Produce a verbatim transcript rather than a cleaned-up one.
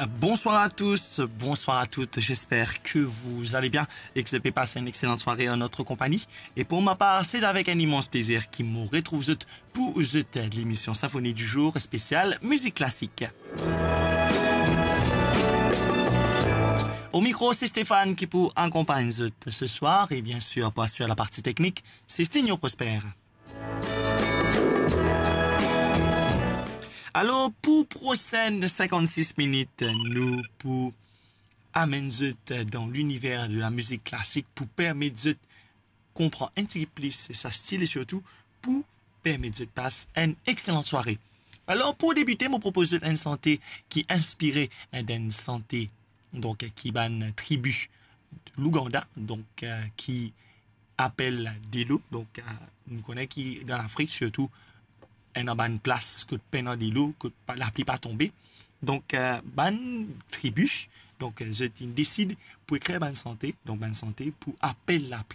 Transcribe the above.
Bonsoir à tous, bonsoir à toutes, j'espère que vous allez bien et que vous avez passé une excellente soirée en notre compagnie. Et pour ma part, c'est avec un immense plaisir ki mo retrouv zot pou zot lemision Symphonie du jour spécial musique classique. Au micro, c'est Stéphane ki pou akonpagn zot ce soir et bien sûr, pour assurer la partie technique, c'est Stigno Prosper. Alor, pou prosenn cinquante-six minit, nou pou amenn zot dan liniver de la mizik klasik pou permet zot konpran enn tigit plis sa stil e sirtou pou permet zot pas enn exselan sware. Alor, pou debite, mo propoz zot enn sante ki inspire, eh, d'enn sante, donk, ki bann tribi Louganda, donk, eh, ki apel delo. Donk, eh, nou kone ki dan Lafrik, sirtou, ena bann plas kot pena delo, kot pa, lapli pa tonbe. Donk, eh, bann tribi, donk, eh, zot inn desid pou ekrir bann sante, donk bann sante pou apel lapli.